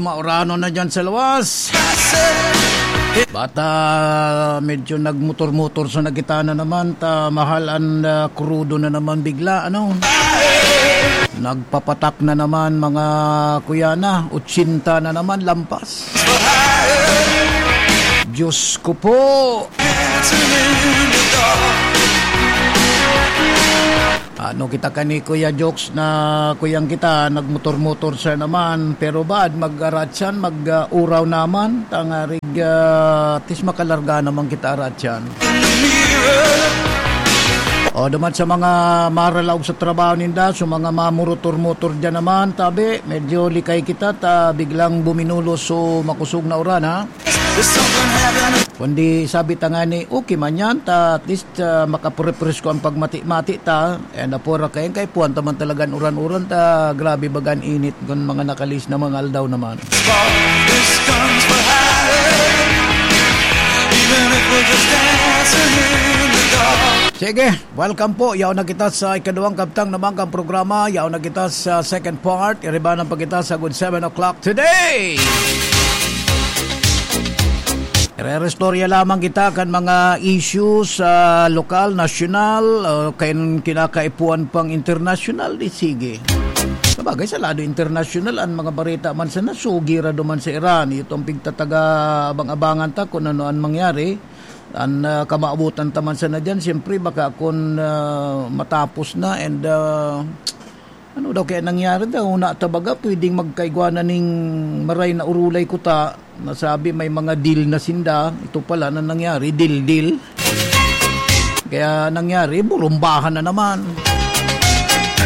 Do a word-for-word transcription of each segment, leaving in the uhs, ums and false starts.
Maurano na dyan sa luwas. Bata, medyo nagmotor-motor sa nagitana naman, ta mahal ang, ah, krudo na naman bigla, ano? Nagpapatak na naman, mga kuya na, otsinta na naman, lampas. Diyos ko po! Ano kita kani, Kuya Jokes, na kuyang kita, nagmotor-motor siya naman. Pero baad mag-aratsan, mag, ah, uraw naman, tangarig, ah, tis makalarga naman kita aratsan. O, duman sa mga maralaog sa trabaho ninda, so mga mamurotor-motor dyan naman, tabi, medyo likay kita, ta biglang buminulos so makusog na uran, ha? Kundi sabi ta nga ni, okay man yan, ta at least, ah, makaprepresko ang pagmati-mati ta. And apura kayan, kay puwan ta man talaga an uran-uran ta, grabe baga an init kun mga nakalis na mga aldaw naman. This comes for higher, even if we're just dancing in the dark. Sige, welcome po. Yaon na kita sa ikaduwang kabtang na manggang programa. Yaon na kita sa second part. Iribanan pa kita sa good seven o'clock today. Irerestorya lamang kita kan mga issues sa lokal, nasyonal, o kan kinakaipuhan pang internasyonal, di sige. Sabagay, sa lado internasyonal, ang mga bareta man sana, sugi ra duman sa Iran. Itong pigtataga abang-abangan ta kung ano ang mangyari. Ang, ah, kamaabutan ta man sana diyan, siyempre, baka kun, ah, matapos na and, ah, ano daw kaya nangyari daw? Una ta baga, pwedeng magkaigwa na ning maray na urulay kuta. Nasabi may mga deal na sinda. Ito pala na nangyari, deal-deal. Kaya nangyari, burumbahan na naman.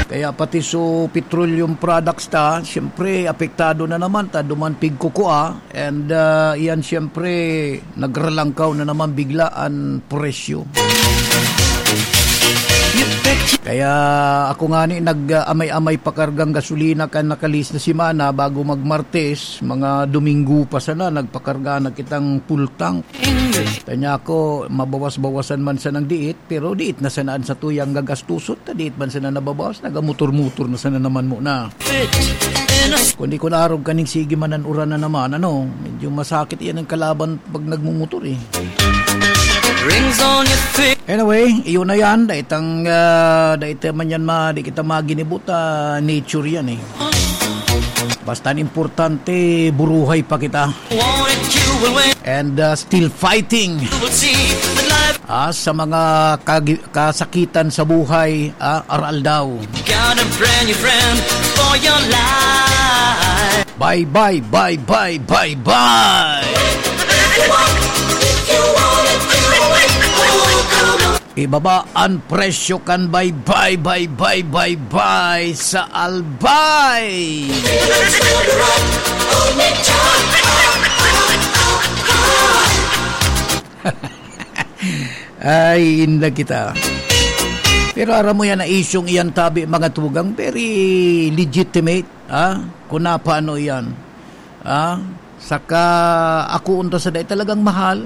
Kaya pati so petroleum products ta, siyempre, apektado na naman ta, duman pigkukua. And, ah, iyan siyempre, nagralangkaw na naman bigla an presyo. Kaya ako nga ni nag-amay-amay pakargang gasolina kan nakalis na semana bago mag-Martes, mga Domingo pa sana, nagpakarga na kitang full tank. Kanya ako, mabawas-bawasan man sanang diit, pero diit na sana an satuyang gagastuson, ta diit man sana nababawas, nagamotor-motor na sana naman muna. Kundi kun arog kaning sige man an uran na naman, ano, medyo masakit iyan ang kalaban pag nagmumotor, eh. Rings on your finger. Anyway, iyon na yan. Daitang, ah, daita man yan, ma, di kita maginibo ta, nature yan, eh. Basta ang importante, buruhay pa kita. Want it, you will win. And, uh, still fighting. You will see that life. Ah, sa mga kagi-, kasakitan sa buhay, ah, aral daw. Got a brand new friend for your life. Bye, bye, bye, bye, bye, bye. If you want it, if you want it, you will win. Oh, come on. Ibaba an presyo kan bye, bye, bye, bye, bye, bye sa Albay. Ay, inda kita. Pero aram mo yan na isyong iyan tabi, mga tugang, very legitimate, ha? Kung napano iyan. Ah, saka ako unta sa dai talagang mahal.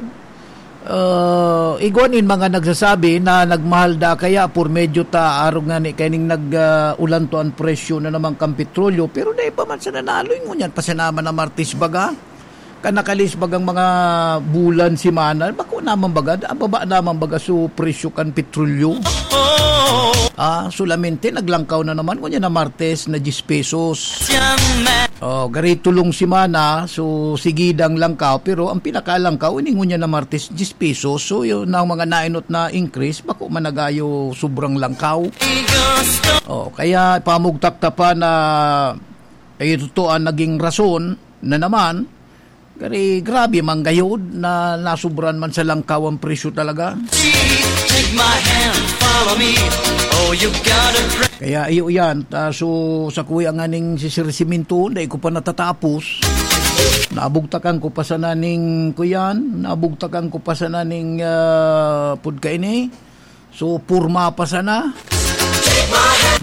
Ah, igwa nin mga nagsasabi na nagmahal da kaya por medyo ta arog nga ni kaining nag, ah, ulanto an presyo na naman kan petrolyo, pero dai pa man sana naaloy ngunyan pa sana man na Martes baga. Kan nakalis bagang mga bulan, semana, bako naman baga, ababa naman baga so presyo kan petrolyo. Ah, solamente naglangkaw na naman ngunyan na Martes na diyes pesos. Oh, gari tulong semana, so, sigidang langkaw, pero ang pinakalangkaw, ini ngunyan na Martes, diyes pesos. So, yun ang mga nainot na increase, bako man nagayo sobrang langkaw. Oh, kaya pamugtak ta pa na, eh, ito to ang naging rason na naman, Gari, grabe man gayod na nasubran man sa langkaw ang presyo talaga. Take my hand, follow me. Oh, you gotta pray. Kaya iyo yan, ta, so, sa kuya nga ning si Sir Siminto, dai ko pa natatapos. Nabugtakan ko pa sana ning kuyan, nabugtakan ko pa sana ning, ah, pud kaini. So, purma pa sana.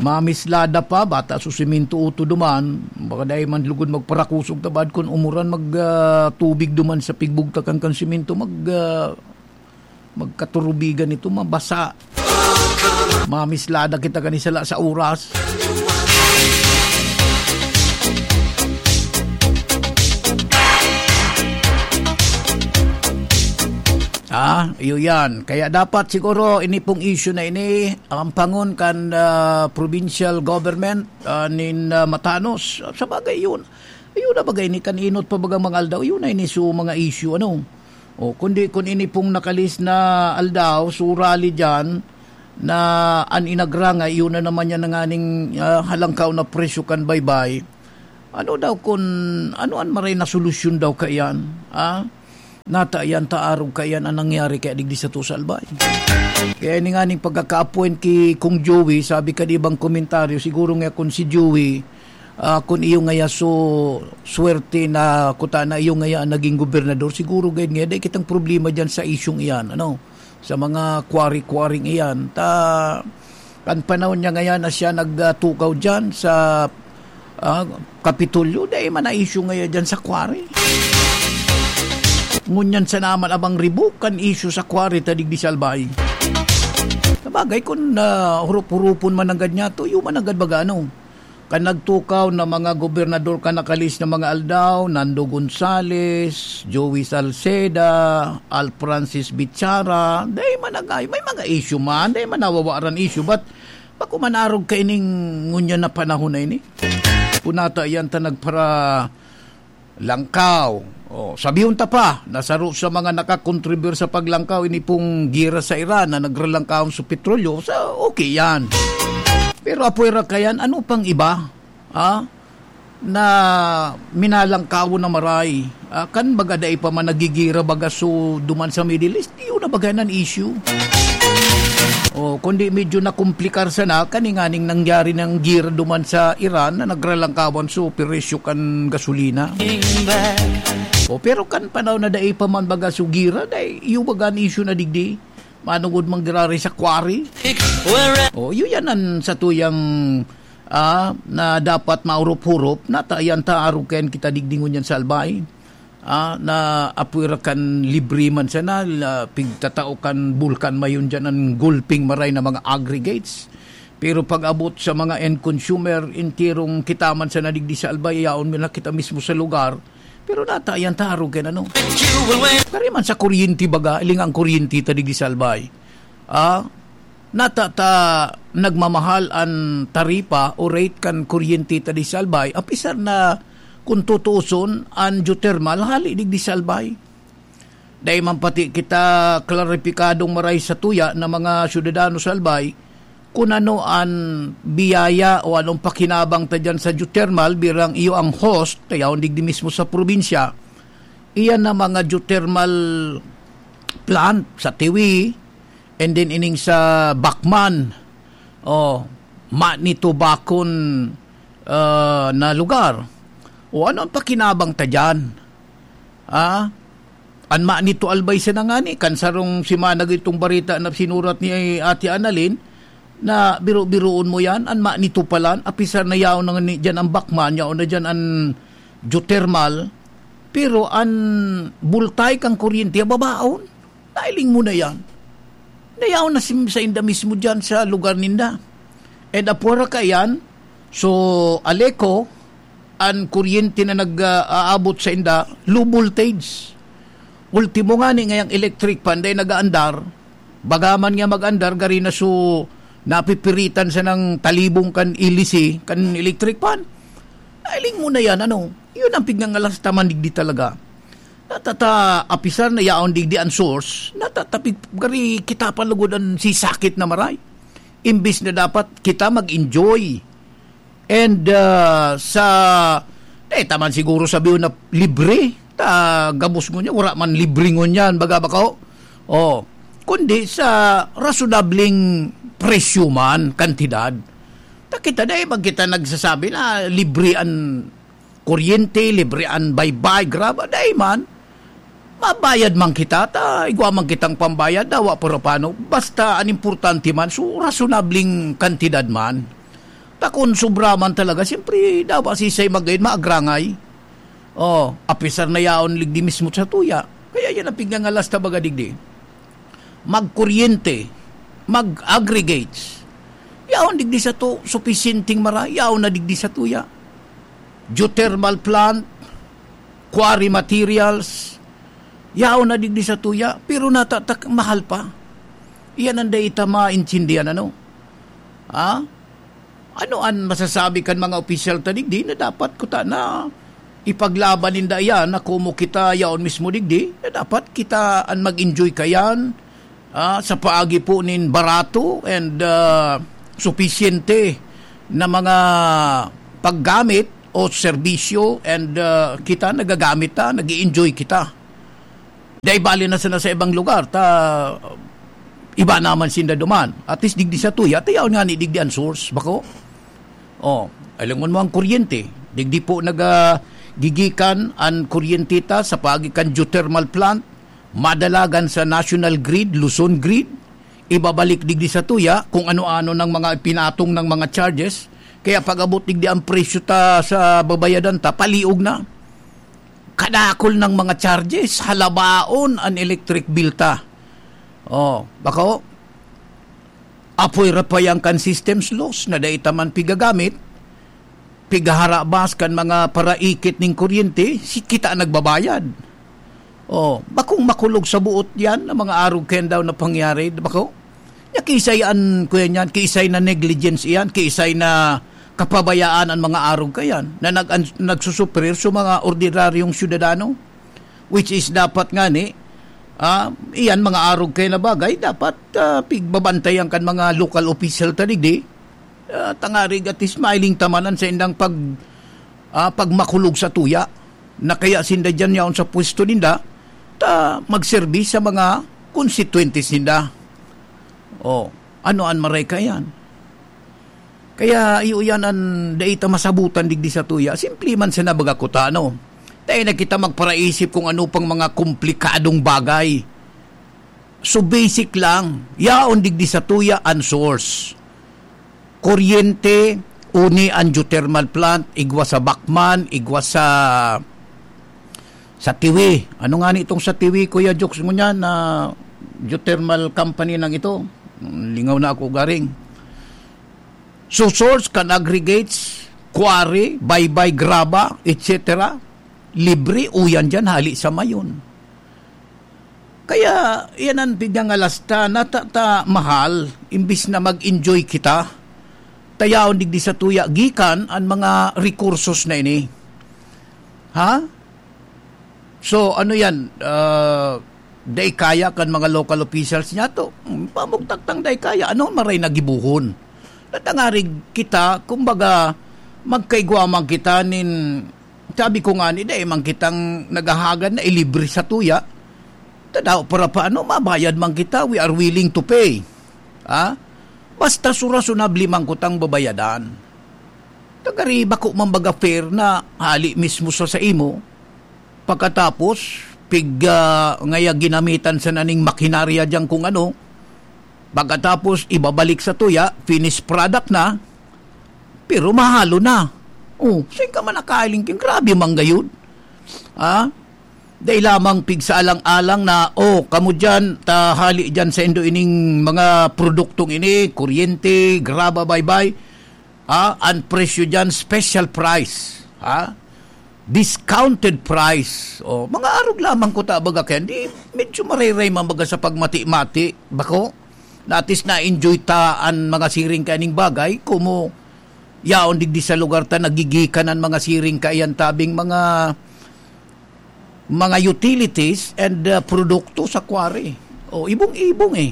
Mamislada pa, bata so siminto uto duman. Baka dai man lugod magparakusog ta baad kun umuran mag, ah, tubig duman sa pigbugtakan kan siminto, mag, ah, magkaturubigan ito, mabasa. Mamislada kita kani sala sa oras. Ah, iyo yan. Kaya dapat siguro ini pong issue na ini, ampangon kan, ah, provincial government, ah, nin, ah, matanos. Sa bagay, yun. Ayun na bagay ni kan inot pa bagang mga aldaw. Yun na ini so mga issue, ano. O, kundi kun ini pong nakalis na aldaw, so rally dyan, na an inagrangay, yun na naman yan na nganing, ah, halangkaw na presyo kan baybay. Ano daw kun, ano an maray na solusyon daw kaiyan? Ah? Nata iyan ta arog kaiyan an nangyari kaya digdi sa Tusalbay. Kaya ini nga ning pagkaka-appoint ki Kong Joey, sabi kan ibang komentaryo, siguro nga kun si Joey, ah, kun iyo ngaya so swerte na kuta na iyo ngaya an naging gobernador, siguro gayud nga dai kitang problema diyan sa isyung iyan, ano, sa mga quarry-quarrying iyan. Ta, kan panahon niya ngayan na siya nagtukaw diyan sa, ah, Kapitolyo, dai man na issue ngayon diyan sa quarry. Ngunyan sana man abang ribok kan issue sa quarry ta digdi sa Albay. Sabagay, kun, ah, hurup-hurupon man nanggad niya, tuyo man nanggad baga, ano. Kan nagtukaw na mga gobernador kan nakalis na mga aldaw, Nando Gonzales, Joey Salceda, Al Francis Bichara, dai man nagay, may mga issue man, dai man nawawaran issue, but bako man arog kaining ngunyan na panahon na ini. Kunata iyan ta nagpara langkaw. O, sabihon ta pa na saro sa mga nakakontribir sa paglangkaw ini pong gira sa Iran na nagralangkawon sa petrolyo, sa okay yan. Pero apuera kayan, ano pang iba? Ha? Na minalangkawon na maray. Ah, kan baga dai pa man nagigira baga so duman sa Middle East, iyo na baga nan issue. O, kundi medyo nakomplikar sana, kani nganing nangyari nang gira duman sa Iran na nagralangkawan so presyo kan gasolina. O, pero kan panahon na dai pa man baga so gira, dai, iyo baga an issue na digdi. Manungod man girari sa quarry. O, iyo yan an satuyang, ah, na dapat maurop-hurop, nata iyan ta arog kayan kita digdi ngunyan sa Albay. Ah, na apuera kan libre man sana, la, pigtatao kan bulkan mayon diyan an gulping maray na mga aggregates. Pero pag-abot sa mga end consumer, enterong kita man sana digdi sa Albay, yaon mi na kita mismo sa lugar. Pero nata iyan ta arog kan ano. Kari man sa kuryente baga, iling ang kuryente ta digdi sa Albay. Ah, nata ta nagmamahal an taripa o rate kan kuryente ta di sa Albay, apisar na kun tutuoson an geothermal hali digdi sa Albay. Dai man pati kita klaripikadong maray sa tuya na mga syudadano sa Albay kun ano an biyaya o anong pakinabang ta diyan sa geothermal, birang iyo ang host, ta yaon digdi mismo sa probinsya. Iyan na mga geothermal plant sa Tiwi, and then ining sa Bacman, o, Manitobacon, ah, na lugar. O, ano ang pakinabang ta diyan? Ah? An Manito Albay sana ngani, kan sarong semana gitong bareta na sinurat ni Ate Annalyn, na biro-biroon mo yan, an Manito palan, apisar na yaon na ngani diyan ang Bacman, yaon na diyan an geothermal, pero an bultay kan kuryente, babaon. Nailing mo na yan. Nayaon na sim-, sa inda mismo dyan sa lugar ninda. And apwara ka yan, so, Aleco, an kuryente na nag-aabot sa inda, low voltage. Ultimo nga ni ngayang electric fan, dahil nag-aandar, bagaman nga mag-andar, gari na so, napipiritan sa nang talibong kan ilisi, kan electric fan. Nailing mo na yan, ano? Yun ang pignangalas ta man digdi talaga. Natata, apisar na yaon digdi an source, natata, pig-, gari kita pa lugod an sisakit na maray. Imbis na dapat kita mag-enjoy. And, ah, sa, eh, taman siguro sabi na libre, ta gabos ngunyan, wala man libre ngunyan, baga ba ko? Oh, kundi sa rasonableng presyo man, kantidad. Ta kita, dai man kita nagsasabi na libre an kuryente, libre an baybay, graba, dai man. Mabayad man kita, ta igwa man kitang pambayad, dawa pero paano. Basta an importante man, so, rasonableng kantidad man. Ta kun sobra man talaga, siyempre, dawa sisay magayon, maagrangay. Oh, apisar na yaon ligdi mismo sa tuya. Kaya yan ang pignangalas ta baga digdi. Magkuryente, mag-aggregates. Yaon digdi sa to, supisyenteng mara, yaon na digdi sa tuya. Geothermal plant, quarry materials, Yaon na digdi sa tuya, pero natatak mahal pa. Iyan ang dai ta maintindihan, ano? Ha? Ano an masasabi kan mga opisyal ta digdi na dapat kuta na ipaglaban ninda iyan na komo kita yaon mismo digdi, na dapat kita an mag-enjoy kayan, ah, sa paagi po nin barato and, ah, supisyente na mga paggamit o serbisyo and, ah, kita nagagamit ta, nag-i-enjoy kita. Dai bali na sana sa ibang lugar, ta iba naman sinda duman. At least digdi sa tuya, ta yaon ngani digdi an source, bako? Oh, alangon mo ang kuryente. Digdi po nagagigikan an kuryente ta sa paagi kan geothermal plant, madalagan sa national grid, Luzon grid, ibabalik digdi sa tuya kung ano-ano ng mga ipinatong ng mga charges. Kaya pag-abot digdi ang presyo ta sa babayadan ta, paliog na. Kadakol ng mga charges, halabaon an electric bill ta. Oh, bako? Apoy ra pa yan kan systems loss na dai ta man pigagamit, pigaharabas kan mga paraikit ning kuryente, si kita nagbabayad. Oh, bakong makulog sa buot yan na mga arog kayan daw na pangyari, bako? Nya kiisay an, kuya niyan, kiisay na negligence iyan, kiisay na kapabayaan an mga arog kayan na nag-, an-, nagsusuprir sa mga ordinaryong syudadano, which is dapat ngani, ah, iyan mga arog kaya na bagay, dapat, ah, pigbabantayan kan mga local official ta digdi, ah, tangarig at smiling tamanan sa indang pag, ah, pagmakulog sa tuya na kaya sinda diyan yaon sa pwesto ninda, ta magserbi sa mga konstituyentes ninda. Oh, ano an maray kaiyan? Kaya iyo yan an dai ta masabutan digdi sa tuya. Simple man sana baga kuta, no? Dai na kita magparaisip kung ano pang mga komplikadong bagay. So basic lang, yaon digdi sa tuya an source. Kuryente, uni an geothermal plant, igwa sa Bacman, igwa sa, sa Tiwi. Ano nga ni itong sa Tiwi, Kuya Jokes, ngunyan na geothermal company nang ito? Lingaw na ako garing. So, source kan aggregates, quarry, baybay, graba, et cetera. Libre, uyan dyan, hali sa Mayon. Kaya, yan ang pigangalasta, nata-, ta mahal, imbis na mag-enjoy kita, tayaon digdi sa tuya, gikan an mga rekursos na ini. Ha? So, ano yan? Ah, dai kaya kan mga local officials niya to? Hmm, pamugtak tang dai kaya. Ano maray na gibohon? Natangarig kita, kumbaga, magkaigwa man kita nin, sabi ko nga ni, dai man kitang naghahagad na ilibre sa tuya. Tadaw, para paano, mabayad man kita, we are willing to pay. Ha? Basta su-, rasunable man kutang babayadan. Tagari, bako man baga fair na hali mismo sa saimo, pagkatapos, pig, ah, ngaya ginamitan sa naning makinarya dyan kung ano, pagkatapos, ibabalik sa tuya, finished product na, pero mahalo na. Oh, saan ka man nakailing kin? Grabe man gayud. Ah? Dai lamang pigsaalang-alang na, "Oh, kamo dyan, ta hali dyan sa indo ining mga produktong ini, kuryente, graba, baybay." Ah, ang presyo dyan, special price. Ha? Discounted price. Oh, mga arog lamang ko ta, baga, kaya di, medyo marayray man baga sa pagmati-mati. Bako? Natis na-enjoy ta an mga siring kaning bagay, kumo yaon digdi sa lugar ta nagigikan an mga siring kaiyan tabing mga, mga utilities and, uh, produkto sa quarry. O, ibong-ibong eh.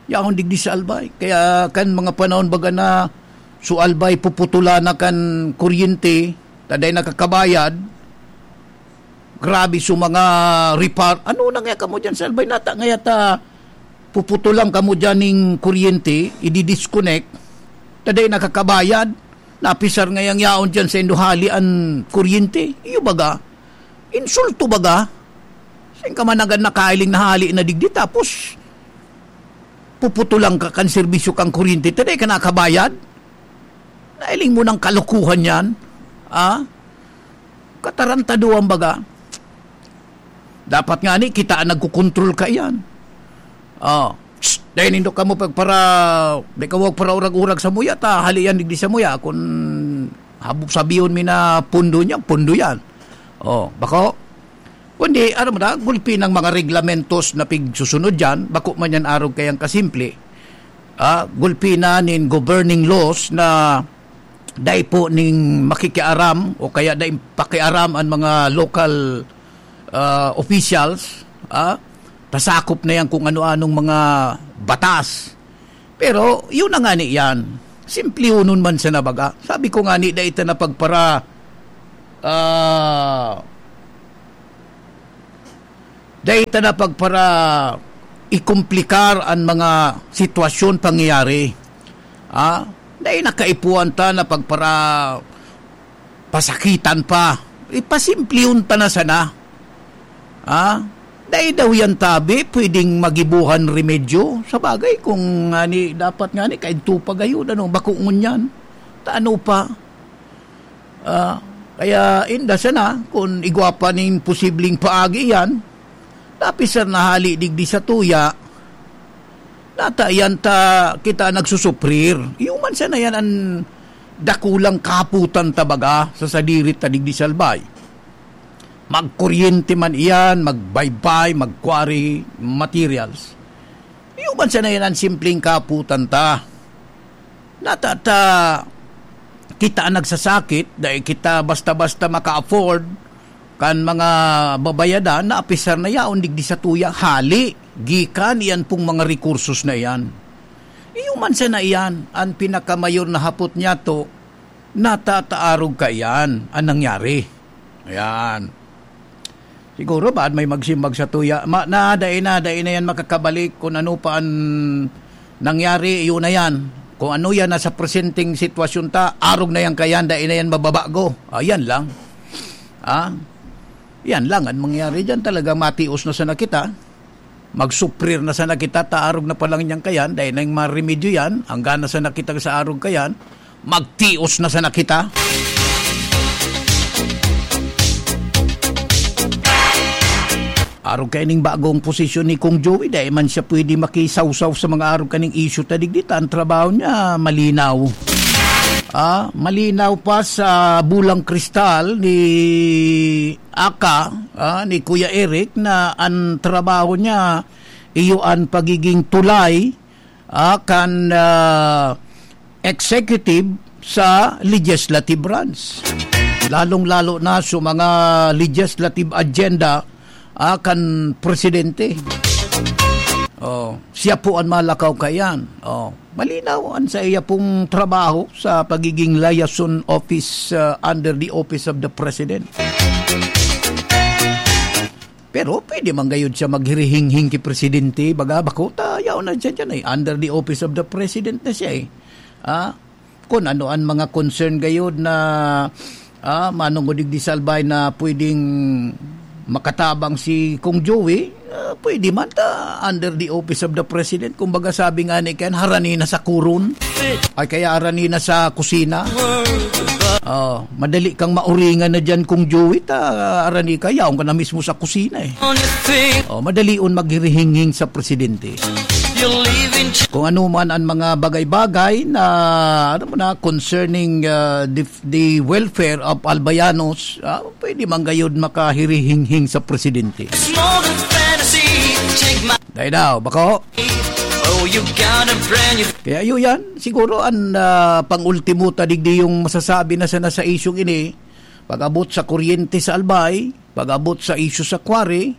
Yaon digdi sa Albay. Kaya kan mga panahon baga na so Albay puputulan na kan kuryente, taday nakakabayad, grabe so mga repar-, ano na nga kamo dyan sa Albay? Nata nga yata puputulan kamo dyan ning kuryente, i-disconnect, taday nakakabayad, napisar ngayang yaon dyan sa indohali an kuryente. Iyo baga, insulto baga. Saan ka man agad nakailing na hali na digdi, tapos puputulan ka kan serbisyo kang kuryente, taday ka nakabayad? Nailing mo ng kalokohan yan? Ah? Katarantaduhan baga. Dapat nga ni, kita ang nagkukontrol ka iyan. Oh, psst, dahil nindo kamo pagpara-, di ka wag paraurag-urag sa muya, ta hali yan digdi sa muya. Kung hab-, sabihon mi na pundo niya, pundo yan. Oh, bako? Kundi, ano mo na, gulpi ng mga reglamentos na pigsusunod dyan, bako man yan arog kayang kasimple. Ah, gulpi na nin governing laws na dai po ning makikiaram o kaya dai pakiaram ang mga local, ah, officials, ah, tasakop na yan kung ano-anong mga batas. Pero, yun na nga ni yan. Simplehonon man sana baga. Sabi ko nga ni, dai ta na pagpara, ah, dai ta na pagpara ikomplikar ang mga sitwasyon, pangyayari. Ah, dai na kaipuhan ta na pagpara pasakitan pa. Ipasimplihon ta na sana. Ah, dai daw yan tabi, pwedeng magibohan remedyo. Sa bagay, kung nga ni, dapat nga ni, kaidto pa gayon, ano, bako ngunyan. Ta ano pa? Ah, kaya inda sana, kung igwa pa ning posibleng paagi yan, napisar na hali digdi sa tuya, nata yan ta kita nagsusuprir. Iyo man sana yan an dakulang kahapotan ta baga sa sadiri ta digdi sa Albay. Magkuryente man iyan, magbaybay, mag-quarry materials. Iyo man sana yan an simpleng kahapotan ta. Nata ta kita an nagsasakit, dai kita basta-basta maka-afford kan mga babayadan na apisar na yaon digdi sa tuya hali gikan iyan pong mga rekursos na iyan. Iyo man sana iyan an pinakamayor na hapot niyato, nata ta arog kaiyan an nangyari. Ayan. Siguro ba may magsimbag sa tuya, ma, na, dai na, dai na yan makakabalik kung ano pa an nangyari, yun na yan. Kung ano yan nasa presenteng sitwasyon ta, arog na yan kayan, dai na yan mababago. Ayan lang. Ah, yan lang ang mangyari dyan. Talaga matios na sana kita. Magsuprir na sana kita, ta arog na pa lang niyang kayan, dai na yung maremedyo yan. Hanggang na sana kita sa arog kayan, magtios na sana kita. Arog kaining bagong posisyon ni Kong Joey, dai man siya pwede makisawsaw sa mga arog kaning issue ta digdi ta. Ang trabaho niya, malinaw. Ah, malinaw pa sa bulang kristal ni Aka, ah, ni Kuya Eric, na ang trabaho niya, iyo an pagiging tulay, ah, kan, ah, executive sa legislative branch. Lalong-lalo na sa mga legislative agenda, ah, kan presidente. Oh, siya po ang malakaw kayan. Oh, malinaw ang sa iya pong trabaho sa pagiging liaison office, ah, under the office of the president. Pero pwede man gayud siya maghirihinghing ki presidente, baga bako ta, yaon na siya dyan eh. Under the office of the president na siya eh. Ah, kung ano ang mga concern gayud na, ah, manungudig di salbay na pwedeng makatabang si Kong Joey, ah, pwede man ta under the office of the president. Kumbaga sabi nga ni Ken, harani na sa kuron. Ay kaya harani na sa kusina. Oh, madali kang mauringan na dyan, Kong Joey, ta harani ka, yaon ka na mismo sa kusina eh. Oh, madalion maghirihinghing sa presidente. Kung ano man ang mga bagay-bagay na, ano mo na, concerning, ah, the, the welfare of Albayanos, ah, pwede man gayud makahirihinghing sa presidente. Dai daw, bako? Kaya iyo yan, siguro ang, ah, pang-ultimo ta digdi yung masasabi na sana sa isyung ini, pag-abot sa kuryente sa Albay, pag-abot sa isyu sa quarry,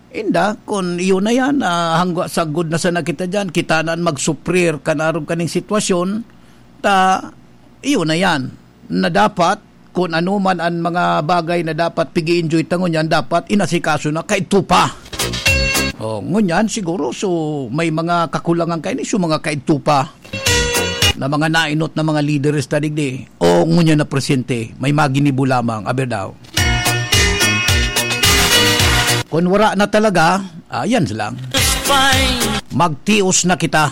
inda, kun iyo na yan, ah, hangga sagod na sana kita dyan, kita na an magsuprir kan arog kaning sitwasyon, ta, iyo na yan, na dapat, kun ano man an mga bagay na dapat pig-i-enjoy ta ngunyan, dapat inasikaso na, kaidto pa. Oh, ngunyan siguro, so, may mga kakulangan kaini, so, mga kaidto pa na mga nainot na mga lideres ta digdi. O ngunyan na presente, may maginibo lamang, aber daw. Kun wara na talaga, ah, yan lang. Magtios na kita.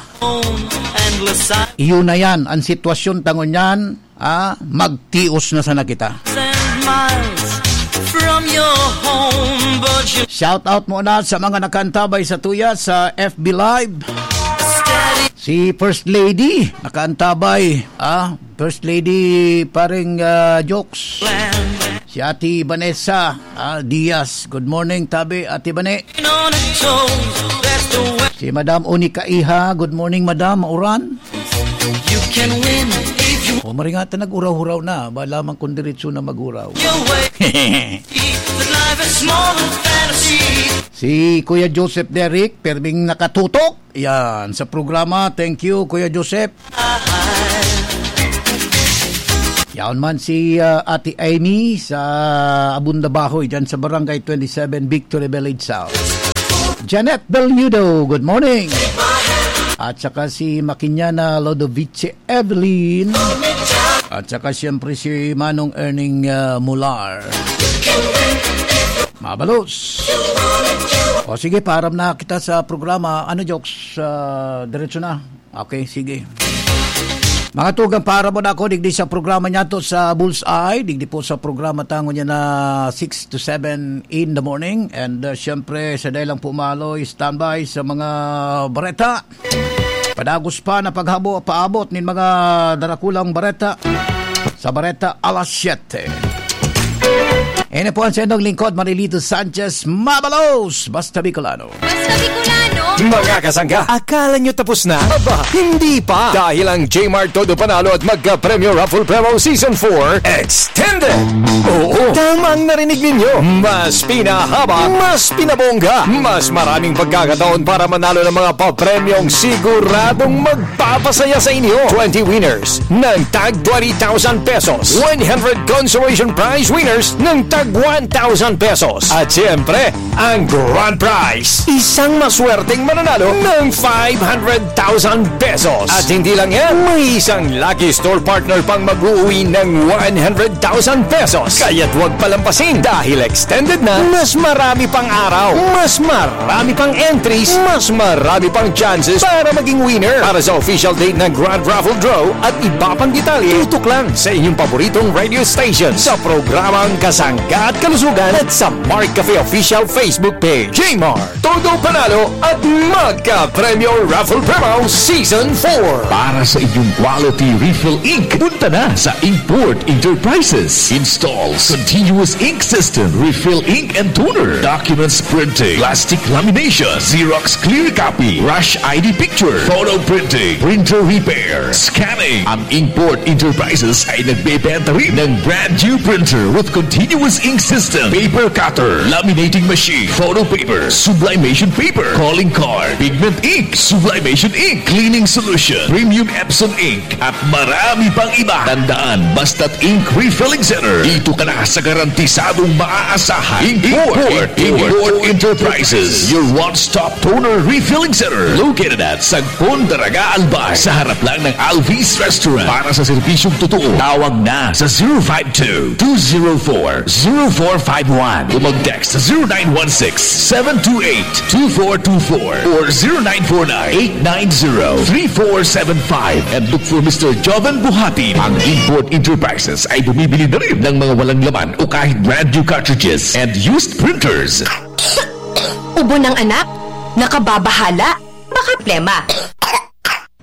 Iyo na yan, ang sitwasyon ta ngunyan, ah, magtios na sana kita. Shout out muna sa mga nakaantabay sa tuya sa F B Live. Si First Lady, nakaantabay. Ah, First Lady, pareng, ah, jokes. Si Ate Vanessa, ah, Diaz. Good morning, tabi, Ate Bane. Si Madam Onika Iha. Good morning, Madam. Mauran? O, maringatan, nag-uraw-huraw na. Ba lamang kung diretso na mag-uraw. Si Kuya Joseph Derrick, perming nakatutok. Yan, sa programa. Thank you, Kuya Joseph. Yaon man si, ah, Ate Amy sa Abunda Bahoy, dyan sa Barangay twenty-seven, Victory Village South. Janet Belnudo, good morning. At saka si Makinyana Lodovice Evelyn. At saka siyempre si Manong Erning, ah, Mular. Mabalos. O sige, paaram na kita sa programa. Ano, jokes? Ah, diretso na. Okay, sige. Mga tugang, paaram muna ako digdi sa programa niya to sa Bullseye. Digdi po sa programa tango niya na six to seven in the morning. And, ah, siyempre, sa dahil lang po maloy, standby sa mga bareta. Padagos pa na paghabo, paabot nin mga darakulang bareta sa Bareta Alas Siyete. Ini po ang sa inyong lingkod, Marilito Sanchez. Mabalos! Basta Bicolano. Basta Bicolano. Mga kasangga, akala nyo tapos na? Aba, hindi pa! Dahil ang Jmart Todo Panalo at Magka-Premyo Raffle Promo Season four Extended! Oo, tama ang narinig ninyo. Mas pinahaba, mas pinabongga, mas maraming pagkakataon para manalo ng mga papremyong siguradong magpapasaya sa inyo. Twenty winners ng tag twenty thousand pesos, one hundred consolation prize winners ng tag one thousand pesos, at siyempre, ang grand prize, isang maswerteng mananalo ng five hundred thousand pesos. At hindi lang yan, may isang lucky store partner pang mag-uuwi ng one hundred thousand pesos. Kaya't huwag palampasin dahil extended na, mas marami pang araw, mas marami pang entries, mas marami pang chances para maging winner. Para sa official date ng Grand Raffle Draw at iba pang detalye, tutok lang sa inyong paboritong radio station sa programang Kasangga at Kalusugan at sa Mark Cafe Official Facebook page. Jmart, Todo Panalo at Magka-Premyo Raffle Promo Season four. Para sa inyong quality refill ink, punta na sa Inkport Enterprises. Installs continuous ink system, refill ink and toner, documents printing, plastic lamination, Xerox clear copy, rush I D picture, photo printing, printer repair, scanning. Ang Inkport Enterprises ay nagbebenta rin ng brand new printer with continuous ink system, paper cutter, laminating machine, photo paper, sublimation paper, calling card, pigment ink, sublimation ink, cleaning solution, premium Epson ink, at marami pang iba. Tandaan, basta't ink refilling center, dito ka na sa garantisadong maaasahan. Import, Import Enterprises, your one-stop toner refilling center, located at Sagpon, Daraga, Albay, sa harap lang ng Alvis Restaurant. Para sa serbisyong totoo, tawag na sa zero five two, two zero four, zero four five one o mag-text sa zero nine one six, seven two eight, two four two four or zero nine four nine, eight nine zero, three four seven five, and look for Mister Joven Buhatin. Ang Import Enterprises ay bumibili na rin ng mga walang laman o kahit brand new cartridges and used printers. Ubo ng anak, nakababahala, baka plema.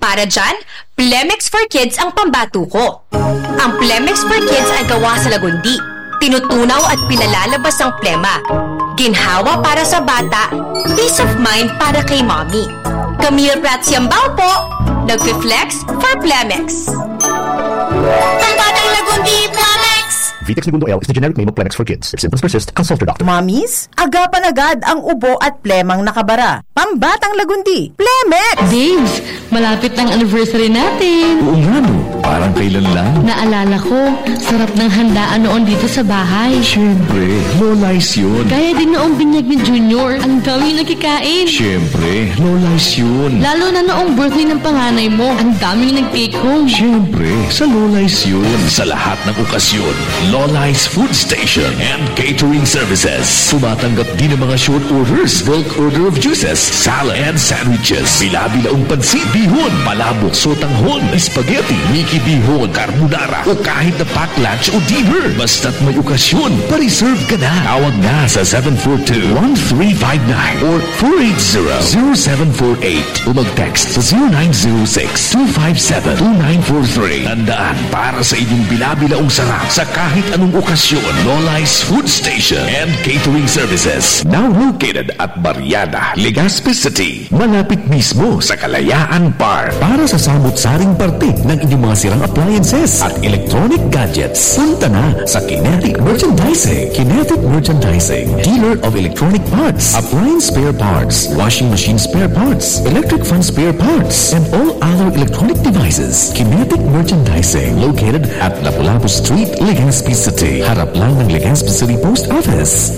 Para dyan, Plemex for Kids ang pambato ko. Ang Plemex for Kids ay gawa sa lagundi. Tinutunaw at pinalalabas ang plema. Ginhawa para sa bata, peace of mind para kay mommy. Camille Prats Yambao po, nagfi-flex for Plemex. Pambatang lagundi, Plemex! Vitex Negundo L is the generic name of Plemex for Kids. If symptoms persist, consult your doctor. Mommies, agapan agad ang ubo at plemang nakabara. Pambatang lagundi, Plemex! Babes, malapit na ang anniversary natin. Oo nga, no? Parang kailan lang. Naalala ko, sarap ng handaan noon dito sa bahay. Siyempre, low-lice yun. Kaya din noong binyag ni Junior, ang daming nakikain. Siyempre, low-lice yun. Lalo na noong birthday ng panganay mo, ang daming nag-take home. Siyempre, sa low-lice yun. Sa lahat ng okasyon, Lolai's Food Station and Catering Services. Tumatanggap din ng mga short orders, bulk order of juices, salad and sandwiches. Bila-bilaong pansit, bihon, palabok, sotanghon, spaghetti, miki bihon, carbonara, o kahit na pack lunch o dinner. Basta't may okasyon, pa-reserve ka na. Tawag na sa seven four two, one three five nine or four eight zero, zero seven four eight o mag-text sa zero nine zero six, two five seven, two nine four three. Tandaan, para sa inyong bila-bilaong sarap sa kahit anong okasyon, Lolai's Food Station and Catering Services. Now located at Barriada, Legazpi City. Malapit mismo sa Kalayaan Park. Para sa samot-saring parte ng inyong mga sirang appliances at electronic gadgets, punta na sa Kinetic Merchandising. Kinetic Merchandising, dealer of electronic parts, appliance spare parts, washing machine spare parts, electric fan spare parts, and all other electronic devices. Kinetic Merchandising, located at Lapu-Lapu Street, Legazpi City. Harap lang ng Legazpi City Post Office.